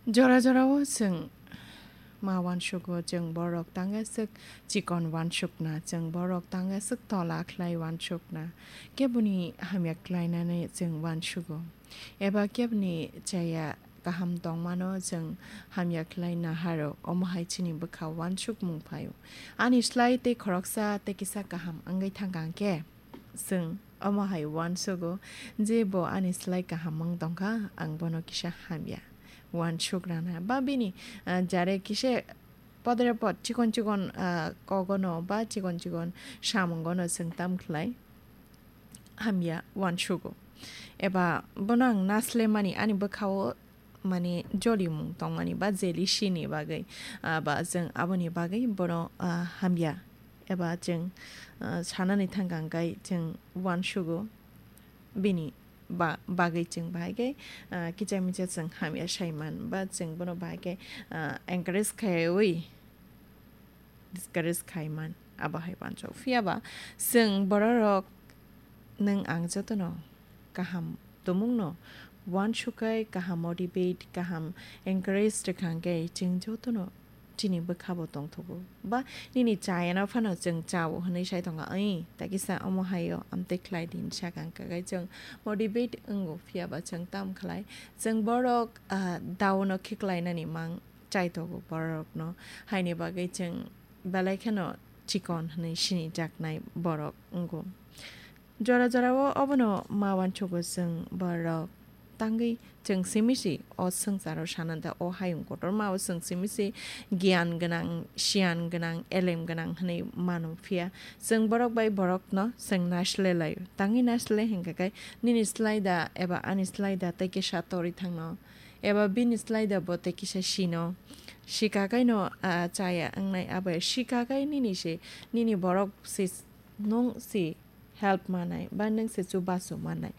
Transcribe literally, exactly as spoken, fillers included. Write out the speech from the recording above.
Jora jorao chwng ma uansugo, chwng borok tangwi aswk chikon uansukna, chwng borok tangwi aswk tola khlai uansukna, keboni hamya khlainani chwng uansugo, eba keboni chaya kaham tongmano chwng hamya khlai naharo, omo hai chini bwkha uansukmung phaio. Ani slai tei khoroksa tei kisa kaham wngwi thangkha hwnkhe, chwng omo hai uansugo je bo ani slai kaham wng tongkha, ang bono kisa hamya uansuk rana. Ba bini, ah, jare kisa podre pod chikon chikon, ah, kogono ba chikon chikon samungono chwng tam khlai hamya uansugo. Eba bono ang naslemani ani bwkhao mane jolimung tongmani ba jealousy ni bagwi, ah, ba chwng aboni bagwi bono, ah, hamya eba chwng, ah, sanani thangkha hwnkhe chwng uansugo bini ba-, bagwi chwng bahai khe, ah, kicha micha chwng hamya saiman ba chwng bono bahai khe, ah, encourage khaiwi discourage khaiman abo hai uansuk. Phiya ba chwng bororok nwng ang jotono kaham tumungno uansukai, kaham motivate, kaham encourage rwkha hwnkhe chwng jotono chini bwkhabo tongthogo. Ba nini chayano phano chwng chao hwnwi sai tongo, "Oi, takisa omo haio amtwi khlai di," hinwi sakha hwnkhe chwng motivate wngo, phiya ba chwng tam khlai. Chwng borok, ah, daono khiklainani mang chaitogo borokno, haini bagwi chwng belai kheno chikon hwnwi sinijaknai borok wngo. Jora jorao obono ma uansugo chwng borok tangwi chwng simi si o swngcharo sananta o hayung kotorma o chwng simi si giyan gwnang, siyan gwnang, elem gwnang hwnwi mano, phiya chwng borok bai borokno chwng naisle laio. Tangwi naisle hwnkha khe nini slai da eba ani slai da tei kisa torwi thangno, eba bini slai da bo tei kisa sino. Sika kaino, ah, chaya wngnai abo sika kai nini se, nini borok se nwng se help manai, ba nwng se chubachu manai.